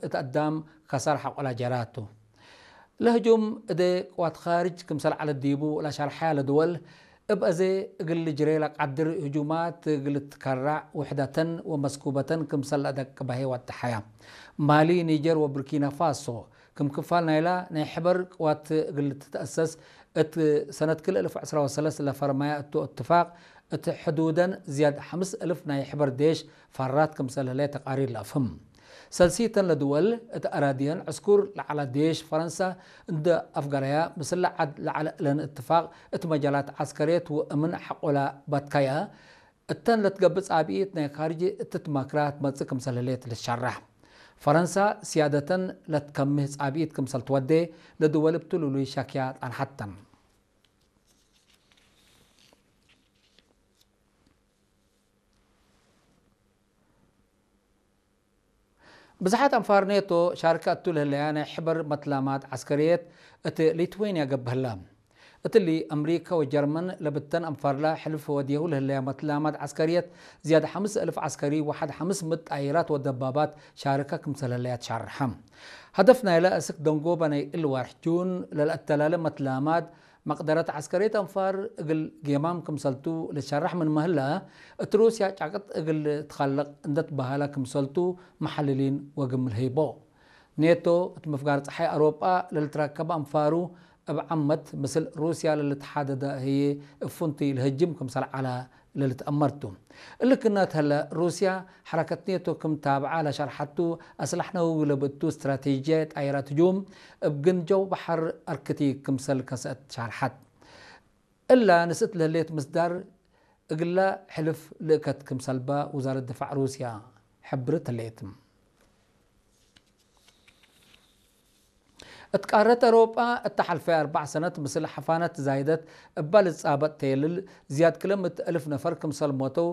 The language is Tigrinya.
እት አዳም ከሳር ሐቆላ ጀራቱ። ለህጁም እደ ቅዋት ኻርጅ ክምሰል ዐለት ዲቡ ለሸርሐ ለድወል፣ እብ አዜ እግል ጅሬ ለቃድር ህጁማት እግል ትከራዕ ውሕደተን ወመስኩበተን ክምሰል ለአደቅበሄ ወደሐያ። ማሊ፣ ኒጀር ወቡርኪና ፋሶ፣ ክም ክፋል ናይላ ናይ ሕበር ቅዋት እግል ትትአሰስ፣ እት ሰነት ክልኤ እልፍ ዕስራ ወሰለስ ለፈርማያ እቱ እትፋቅ፣ እት ሕዱደን ዝያድ ሐምስ እልፍ ናይ ሕበር ዴሽ ፋራት ክምሰል ህለ ተቃሪር ለአፍህም። ሰልሲተን ለድወል እት አራድየን ዕስኩር ለዐላ ዴሽ ፈረንሳ እንደ አፍገረያ፣ ምስለ ዐድ ለዐለ እለን እትፋቅ እት መጃላት ዐስከርየት ወእምን ሐቆላ ባትካያ፣ እተን ለትገብእ ጻብኢት ናይ ካርጅ እትትማክራ ትመጽእ ክምሰል ህሌት ልትሸራሕ። ፈረንሳ ስያደተን ለትከምህ ጻብኢት ክምሰል ትወዴ ለድወል እብ ትሉሉይ ሻክያ ጣንሐተን። ብዝሓት አንፋር ኔቶ ሻርከ እቱ ለህለያ ናይ ሕበር መትላማት ዐስከርየት እት ሊትዌንያ ገብህላ። እትሊ አምሪካ ወጀርመን ለብተን አንፋርላ ሕልፍ ወድየሁ ለህለያ መትላማት ዐስከርየት ዝያድ ሐምስ እልፍ ዐስከሪ ወሐድ ሐምስ ምእት ጣይራት ወደባባት ሻርከ ክምሰል ህለያ ትሻርሐ። ሀደፍ ናይለ እስክ ደንጎበ ናይ እል ዋርሕ ጁን ለልአተላለ መትላማት መቅደረት ዐስከርየት አንፋር እግል ጌማም ክምሰልቱ ልትሸራሕ ምን መህላ፣ እት ሩስያ ጫቅጥ እግል ትኸልቅ እንደትበሀለ ክምሰልቱ መሐልሊን ወግምል ህይቦ። ኔቶ እት ምፍጋር ጸሓይ አውሮጳ ለልትረከበ አንፋሩ እብ ዓመት ምስል ሩስያ ለልትሓደደ ህዬ እብ ፍንቱይ ልህጅም ክምሰል ዐለ። ለልትአመርቱ። እሊ ክነት ህለ፣ ሩስያ ሐረከት ኔቶ ክም ታብዓ ለሸርሐቱ፣ አስላሕነዊ ለብእቱ ስትራቴጂያ ጣይራት ህጁም እብ ግንጀው በሐር አርክቲክ ክምሰል ከሰአት ሻርሐት። እላ ንስእት ለህሌት ምስዳር እግላ ሕልፍ ልእከት ክምሰልባ ውዛረት ድፋዕ ሩስያ ሕብርት ህሌት። እት ቃረት አውሮጳ እተ ሐልፈ አርባዕ ሰነት ምስል ሐፋነት ዛይደት እባ ልትጻበጥ ተየልል ዝያድ ክለ ምእት እልፍ ነፈር ክምሰል ሞተው